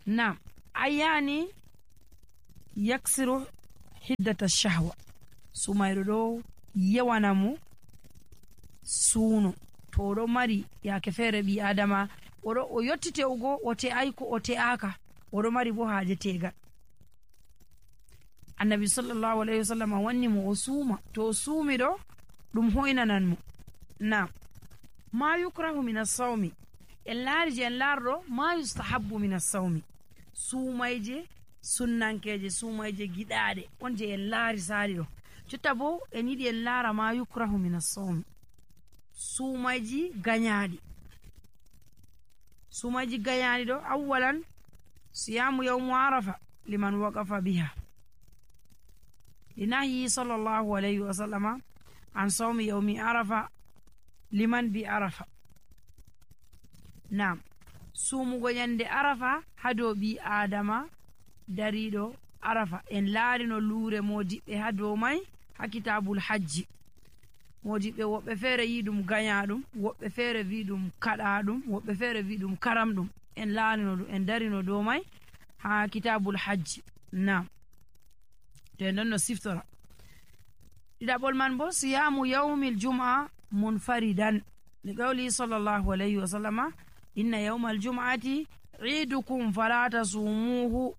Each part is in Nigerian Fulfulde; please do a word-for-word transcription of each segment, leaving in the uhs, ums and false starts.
nam ayani yaksiru hiddata shahwa sumayro ɗo yawana mo suuno to oɗo mari yake feere ɓi adama oɗo o yotti te'ugo o te'ai ko o te'aka oɗo mari bo haaje tegal. Annabi sallallahu alaihi wasallam wanni mo o suuma to o suumi ɗo ɗum hoynanan mo. nam ma yukrahu min as-sawmi en laari je en laarɗo ma yustahabbu min as-sawmi suumayje sunnankeje suumayje giɗaɗe on je en laari saari ɗo. jotta bo en yiɗi en laara ma yukrahu min as-sawmi suumayji ganyaɗi suumayji ganyaɗi ɗo awwalan siyamu yawmu arafa liman waqafa biha linahi sallallahu alayhi wa sallama an sawmi yawmi arafa liman bi arafa. nam suumugo nyande arafa hado bi adama dariɗo arafa en laarino luure modiɓɓe ha dow mai ha kitabul hajji. modiɓɓe woɓɓe feere yi ɗum ganyaɗum woɓɓe feere wi ɗum kaɗaɗum woɓɓe feere wi ɗum karamɗum en laarino ɗum en darino dow mai ha kitabul hajji. nam to en ɗon no siftora ɗiɗaɓol man bo siyamu yawmil jum'a munfaridan li qawli sallallahu alayhi wa sallama inna yawmal jum'ati idukum fala tasumuhu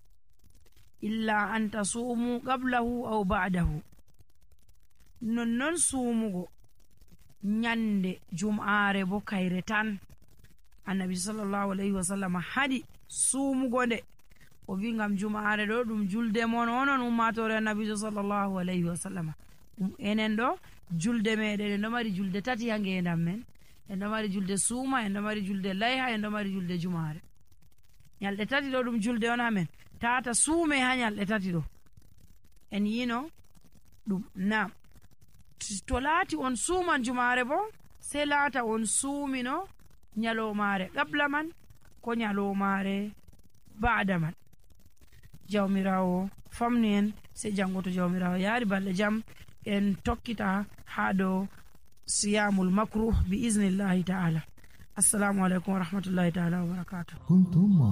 illa an tasumu qablahu aw ba'dahu. nonnon suumugo nyande jum'aare bo kayre tan annabi sallallahu alayhi wa sallam hadi suumugo nde o wi ngam jum'aare ɗo ɗum julde mon onon ummatore annabijo sallallahu alayhi wa sallam. enen ɗo julde meɗen en ɗo mari julde tati ha ngendam men en ɗo mari julde suuma en ɗo mari julde layha en ɗo mari julde jum'aare. nyalɗe tati ɗo ɗum julde on ha men tata suume ha nyalɗe tati ɗo en yino ɗum. nam to laati on suuman jum'aare bo sei laata on suumino nyalomare qabla man ko nyalomare ba'da man. jawmirawo famni en sei jango to jawmirawo yaari balɗe jam en tokkita ha dow siyamul makruh bi iznillahi ta'ala. assalamu alaikum wa rahmatullahi ta'ala wa barakatuh.